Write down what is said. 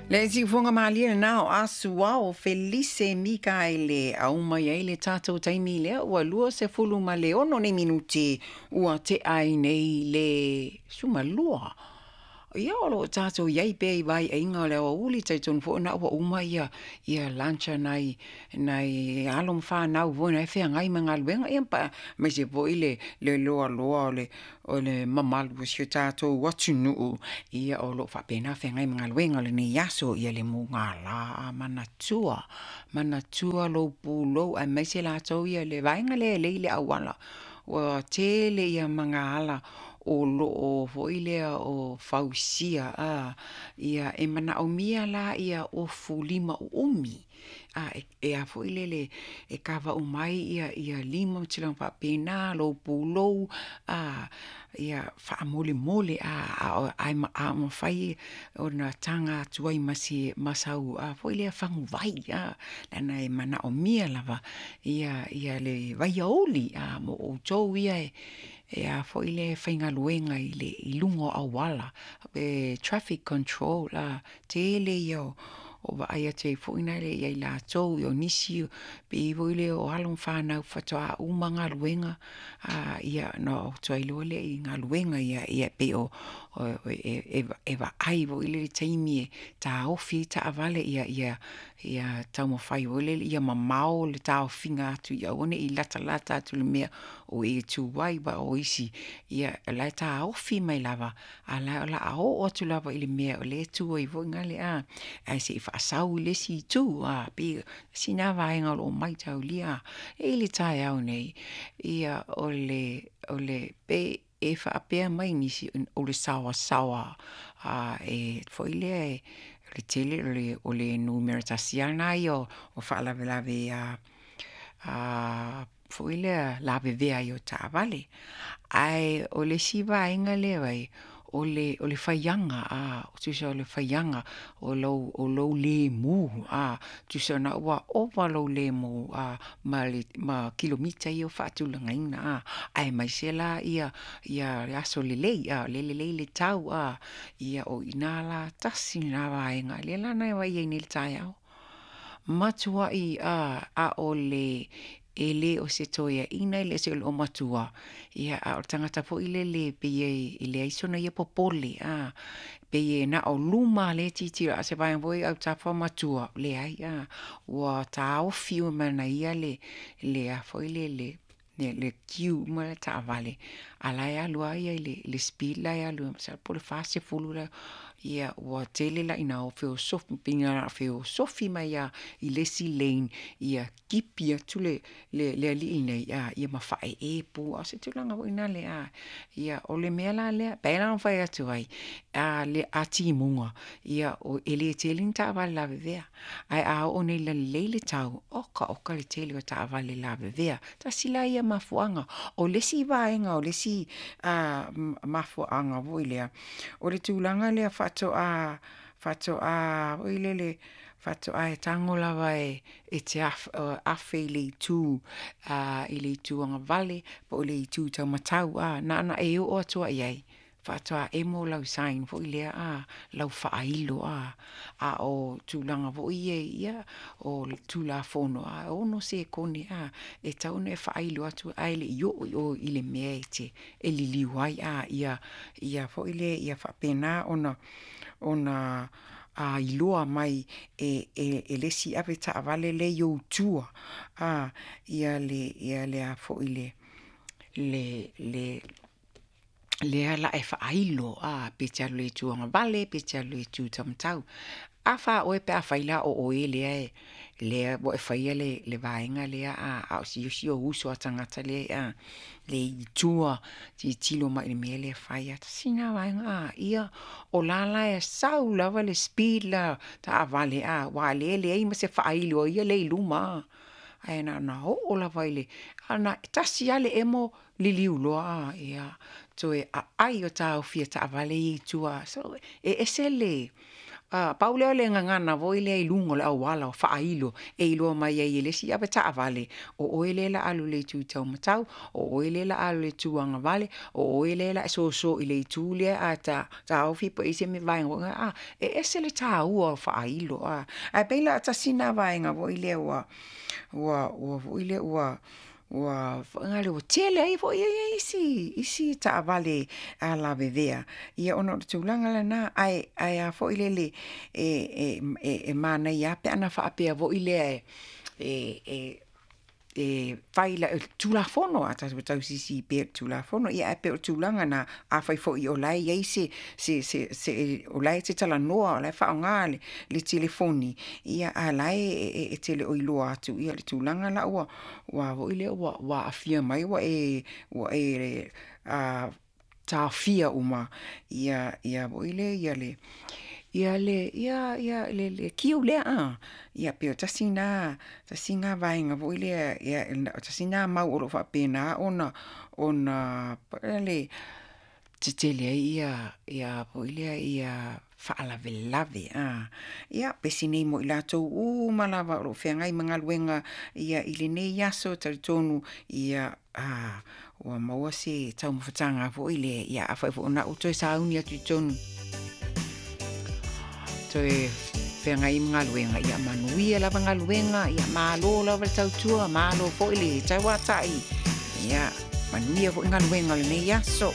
Le siufoga malie lena o Asuao Felise Mikaele au mai ai le tatou taimi lea ua 26 nei minute ua tea ai nei le 12. Ia o lo o tatou i ai pea i vaiaiga o le aoauli, talitonu foi o lena ua uma ia lunch a nai alo ma fanau foi na e feagai ma galuega, ia aemaise foi le loaloa o le mamalu o si o tatou atunuu, ia o lo o faapena ona feagai ma galuega o lenei aso. Ia le mugala, manatua, manatua lou pulou aemaise latou ia le vaega lea e lei le auala. Ua tele ia magaala o lo o foi lea o fausia, ia e manaomia la ia ofu lima uumi e a foi lele e kava uma ai ia lima ma tulaga faapena, lou pulou, ia faamolemole, a mafai ona taga atu ai ma sau foi lea faguvai, leaga e manaomia lava le vaiauli mo outou ia e faigaluega i luga o auala, pe traffic control. Tele ia o vaai atu ai foi lea ia i latou, o nisi pei foi lea o alo ma fanau faatoa uma galuega, ia ona o atu ai loa lea i galuega ia. E pei e vaai foi lea i le taimi e taofi ai taavale ia taumafai foi lele ia mamao le taofiga atu ia aua ne i latalata atu i le mea o e tu ai, aua o isi o la e taofi mai lava, a o la e o le a oo atu lava i le mea o lea e tu ai foi lale ae se i faasau i le isi itu. E pei tasi lena vaega o lo o maitaulia. E i ai le taeao nei, ia o le pei e faapea mai nisi o le saoasaoa foi lea o le tele o le numera tasi lava lena ia o faalavelave foi lea lavevea ai o taavale. Ae o le isi vaega lea e vaai, o le faiaga, tusa o le faiaga o lou lemu, tusa o lena ua ova lou lemu ma kilomita ia ua faatulagaina, aemaise la aso lelei, o lea e lelei le tau, ia o i ina la tasi lena vaega lea la na vaai ai nei i le taeao, matuai a'ole e le o se toeaina e le o se olomatua, a o le tagata foi lele pei e leai sona ia popole, pei e na o luma lava lea e tilotilo, a o se vaega foi lea i autafa ma tua, leai, ua taofi uma e ia le a foi lele, le queue uma lea o taavale, a o la e alu lava ia i le speed la e alu ai masalo po o le 40 la. Ia ua tele la ina feosofi, pei na ona feosofi mai lava i le isi lane ia tipi atu le alii nei ma faaee pu, a o se tulaga foi lea a. Ia o le mea la lea, e pei la ona fai atu ai, a timuga, e le tele ni taavale lavevea, ae a oo nei ina lelei le tau, oka oka le tele o taavale lavevea. Tasi la ia mafuaaga. O le isi vaega o le isi mafuaaga foi lea, o le tulaga lea faatoa foi lele, faatoa e tago lava e te afe i le itu agavale po o le itu taumatau, na ona e oo atu lava i ai faatoa emo lau sign foi lea, lau faailo. A o tulaga foi ia o le Tulafono, e 6 sekone e tatau ona e faailo atu ae le i oo i o i le mea e te liliu ai, ia foi lea ia faapena ona iloa mai e le isi avetaavale lea e i ou tua ia le a foi le lea o le a e faailo, pe te alu i le itu agavale pe te alu i le itu taumatau. A fa oe pe afai la o oe lea ua e faia le vaega lea, a o si ou uso a tagata lea e i tua tilotilo mai i le mea lea e fai. Tasi lena vaega, ia o la la e sau lava le speed la taavale, aua o lea e leai ma se faailo a ia lea e i luma, ae na ona oo lava i le, e tasi lava le emo liliu loa, ia, toe aai o taofi e taavale ia i tua. So, e ese le... Pau lea o le gagana foi lea i luga o le auala o faailo e iloa mai ai e le isi avetaavale, o oe lea o le a alu i le itu taumatau, o oe lea o le a alu i le itu agavale, o oe lea o le a e soso i le itu lea ae taofi po o i ai se vaega foi lea, e ese le taua o faailo, Ae pei la tasi lena vaega foi lea ua foi lea ua tele ai foi isi taavale lavevea ia ona o le tulaga lena. Ae a foi lele e manaia lava pe ana faapea foi lea e fai i Tulafono, a tatou tausisi pea i le Tulafono. Ia ae pei o le tulaga lena, afai foi o la e i ai se o la e te talanoa o la e faaaoga le telefoni, a o la e te le o iloa atu le tulaga la ua foi lea ua aafia mai ua e taofia uma foi lea le queue lea. Ia pei o tasi lena vaega foi lea, tasi lena mau o lo o faapena ona foi lele, tetele ai faalavelave. Ia, pesi nei mo i latou uma lava o lo o feagai ma galuega i lenei aso, e talitonu ua maua se taumafataga foi lea, afai foi o lena ua toe sauni atu i totonu toe feagai ma galuega, ia manuia lava galuega, ia malo lava le tautua, malo foi le tauatai, ia manuia foi galuega o lenei aso.